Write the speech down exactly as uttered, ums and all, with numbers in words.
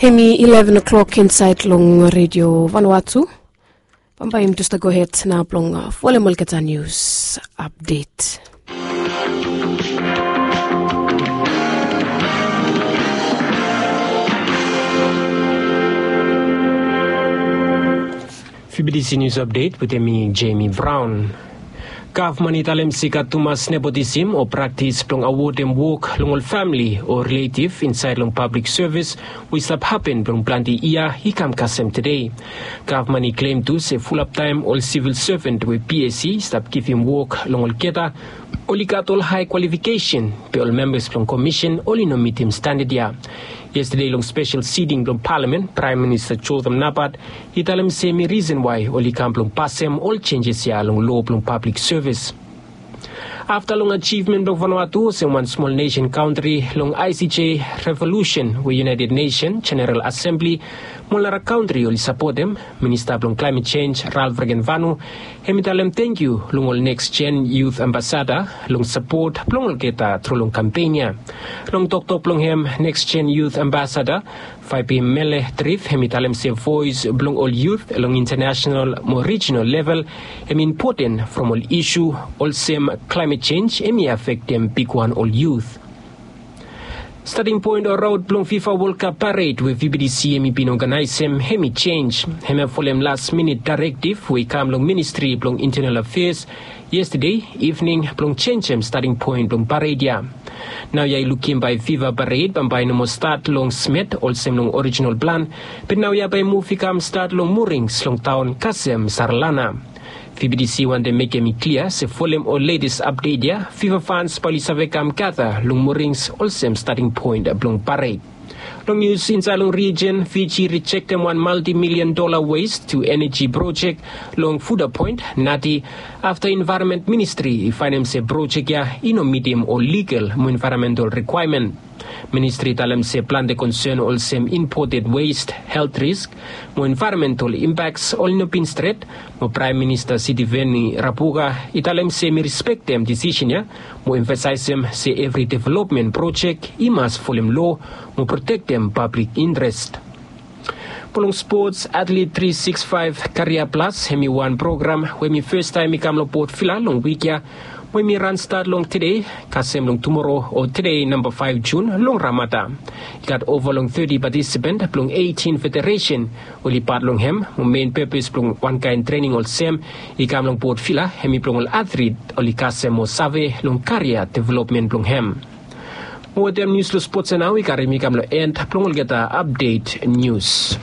Hemi eleven o'clock insaed long redio Vanuatu. Bambae yumi jes stap gohed nao blong folem olgeta nius apdet. Fibidisi nius apdet wetem mi, Jemi Braon. Gavman i talem se i gat tumas nepotisim o praktis blong awodem wok long ol famili o riletiv insaed long pablik sevis we i stap hapen blong plante yia i kam kasem tede. Gavman i klem tu se fulap taem ol sivil seven we PSC i stap givim wok long olgeta oli gat ol hae kwalifikesen, be ol membas blong komisen oli no mitim standad ya. Yestade long spesel siting blong palamen, Praem Minista Jotham Napat i talem se hemi risen wae oli kam blong pasem ol jenjes ya long loa blong pablik sevis. Afta long ajivmen blong Vanuatu olsem wan smol nesen kantri long ICJ revolusen we United Nesen Jeneral Asembli mo ol nara kantri oli sapotem, Minista blong Klaemet Jenj Ralph Regenvanu hemi talem tangkiu long ol Next Gen Youth Ambasada long sapot blong olgeta tru long kampen ya. Long toktok blong hem, Next Gen Youth Ambasada Faipemele Trif hemi talem se voes blong ol yut long intanasenal mo rijinal level hemi impoten from ol isu olsem klaemet jenj hemi afektem bigwan ol yut. Stating poen o raot blong FIFA World Cup pared we VBDC hemi bin oganaesem hemi jenj. Hemia folem las minit daerektiv we i kam long Ministri blong Intenal Afeas yestade ivning blong jenjem stating poen blong pared ya. Naoia i lukim bae FIFA pared bambae i no moa stat long Smet olsem long orijinal plan, be naoia bae muv i kam stat long Murings long taon kasem Sarlana. VBDC wantem mekem i klia se folem ol letes apdet ya, FIFA fans bae oli save kam gata long Murings olsem stating poen blong pared. Long nius insaed long rijin, Fiji i rijektem wan maltimilian dola wes tu eneji projek long Fuda Point, Nadi, afta Envaeronmen Ministri i faenem se projek ya i no mitim ol ligal mo envaeronmental rikwaemen. Ministri i talem se plante konsen olsem impoted wes, helt risk mo envaeronmental impaks oli no bin stret, mo Praem Minista Sitiveni Rabuka i talem se hemi rispektem disisen ya mo emfasaesem se evri developmen projek i mas folem loa mo protektem pablik intres. Mo long spots, Atlet tri sikis faef Karia Plas hemi wan program we hemi fastaem i kam long Port Vila long wik ya, mo hemi ran stat long tede kasem long tumoro o tede namba faef Jun long Ramada. I gat ova long teti patisipan blong eitin federesen oli pat long hem, mo men pepes blong wankaen trening olsem i kam long Port Vila hemi blong ol atlet oli kasem mo save long karia developmen blong hem. Mo wetem nius long spots ya nao i karem i kam long en blong olgeta apdet nius.